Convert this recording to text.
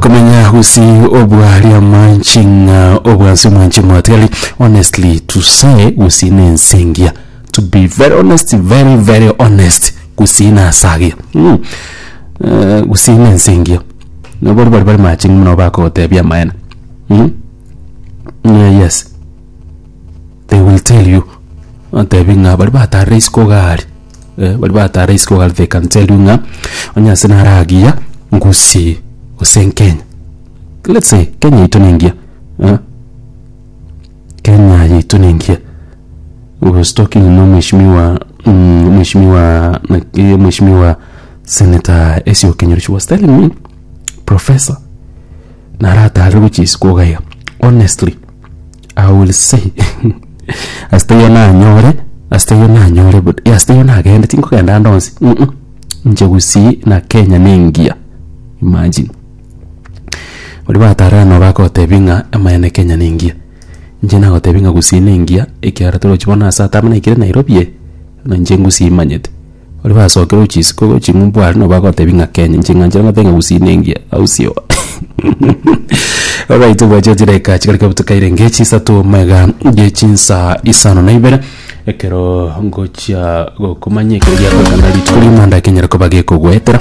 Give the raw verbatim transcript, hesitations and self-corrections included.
Okomenya gusi obwari amanchinga obwansi omwanchi mwatigari. Honestly to say, Gusii na ense engiya. To be very honest, very very honest, Gusii na ase agiya. Mm. Eh, Gusii na ense engiya. Nabo bari bari machingi muno bakogotebia amaene. Mm? Yeah, yes. They will tell you. Batebi ng'a bari batarire isiko gari. Eh, bari batarire isiko gari they can tell you ng'a onye ase nare agiya Gusii gose Kenya. Let's say Kenya yaito nengiya. Eh? Kenya yaito nengiya. We was talking na mheshimiwa mm, mheshimiwa naki mheshimiwa Senator Esio Kenyori. She was telling me, Professor, naratarire gochia isiko iga. Honestly, I will say ase nanyore ase nanyore but ase nagende tinkogenda ande onsi mm -mm. Inche Gusii na Kenya nengiya. Imagine bari batarire nabo bagotebia ng'a amaene Kenya nengiya. Inche nagotebia ng'a Gusii nengiya ekiagera torochi bono ase atama naikire Nairobi eye na inche Gusii manyete. Baria basokire gochia isiko gochia ng'umbu aria nabo bagotebia ng'a Kenya inche ng'anchera ngotebia ng'a Gusii nengiya au sio. Alright obwache chidakika chikarika butukaire nge chisato mega ye chinsa isano na ibere ekero ngochia gokomanya ekero giakorekana rituko rimanda kenyara koba gekogwetera.